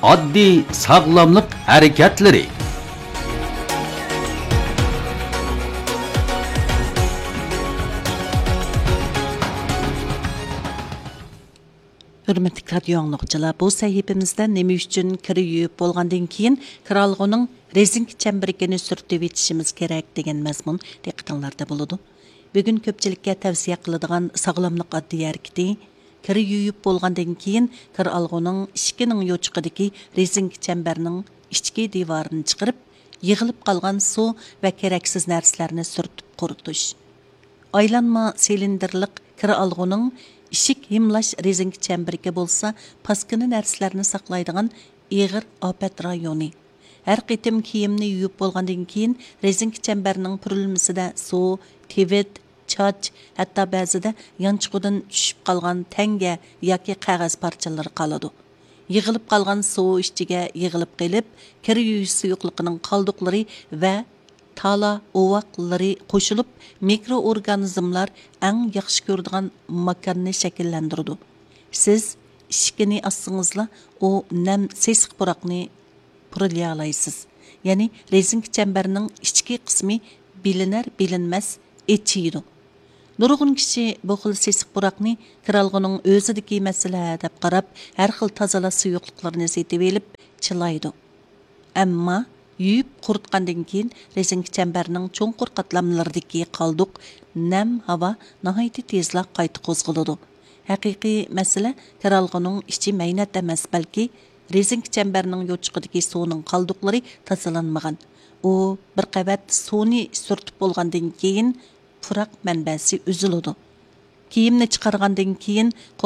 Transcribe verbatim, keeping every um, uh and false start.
ئاددىي ساغلاملىق ھەرىكەتلىرى. ھۆرمەتلىك رادىيو ئاڭلىغۇچىلار، بۇ سەھىپىمىزدە نېمە ئۈچۈن كىر يۇيۇپ بولغاندىن كېيىن كىر ئالغۇنىڭ رېزىنكە چەمبىرىكىنى سۈرتۈۋېتىشىمىز كېرەك دېگەن مەزمۇن دىققىتىڭلاردا بولىدۇ. بۈگۈن كۆپچىلىككە تەۋسىيە قىلىدىغان ساغلاملىق ئاددىي ھەرىكىتى، كىر يۇيۇپ بولغاندىن كېيىن كىر ئالغۇنىڭ ئىشىكىنىڭ يوچۇقىدىكى رېزىنكە چەمبەرنىڭ ئىچكى دىۋارىنى چىقىرىپ، يىغىلىپ قالغان سۇ ۋە كېرەكسىز نەرسىلەرنى سۈرتۈپ قۇرۇتۇش. ئايلانما سىلىندىرلىق كىر ئالغۇنىڭ ئىشىك ھىملاش رېزىنكە چەمبىرىكى بولسا پاسكىنا نەرسىلەرنى ساقلايدىغان ئېغىر ئاپەت رايونى. ھەر قېتىم كىيىمنى يۇيۇپ بولغاندىن كېيىن رېزىنكە چەمبەرنىڭ پۈرۈلمىسىدە سۇ، تىۋىت، چاچ، ھەتتا بەزىدە يانچۇقىدىن چۈشۈپ قالغان تەڭگە ياكى قەغەز پارچىلىرى قالىدۇ. يىغىلىپ قالغان سۇ ئىچىگە يىغىلىپ قېلىپ، كىر يۇيۇش سۇيۇقلۇقىنىڭ قالدۇقلىرى ۋە تالا ئوۋاقلىرى قوشۇلۇپ، مىكرو ئورگانىزملار ئەڭ ياخشى كۆرىدىغان ماكاننى شەكىللەندۈرىدۇ. سىز ئىشىكىنى ئاچسىڭىزلا، ئۇ نەم سېسىق پۇراقنى پۇرىلىيالايسىز. يەنى رېزىنكە چەمبەرنىڭ ئىچكى قىسمى بىلىنەر بىلىنمەس ئېچىيدۇ. نۇرغۇن كىشى بۇ خىل سېسىق پۇراقنى كىرئالغۇنىڭ ئۆزىدىكى مەسىلە دەپ قاراپ، ھەر خىل تازىلاش سۇيۇقلۇقلىرىنى سېتىۋېلىپ چىلايدۇ. ئەمما يۇيۇپ قۇرۇتقاندىن كېيىن رېزىنكە چەمبەرنىڭ چوڭقۇر قاتلاملىرىدىكى قالدۇق نەم ھاۋا ناھايىتى تېزلا قايتا قوزغىلىدۇ. ھەقىقىي مەسىلە كىرئالغۇنىڭ ئىچى مەينەت ئەمەس، بەلكى رېزىنكە چەمبەرنىڭ يوچۇقىدىكى سۇنىڭ قالدۇقلىرى تازىلانمىغان. ئۇ بىر قەۋەت سۇنى سۈرتۈپ بولغاندىن كېيىن پۇراق مەنبەسى ئۈزۈلىدۇ. كىيىمنى چىقارغاندىن كېيىن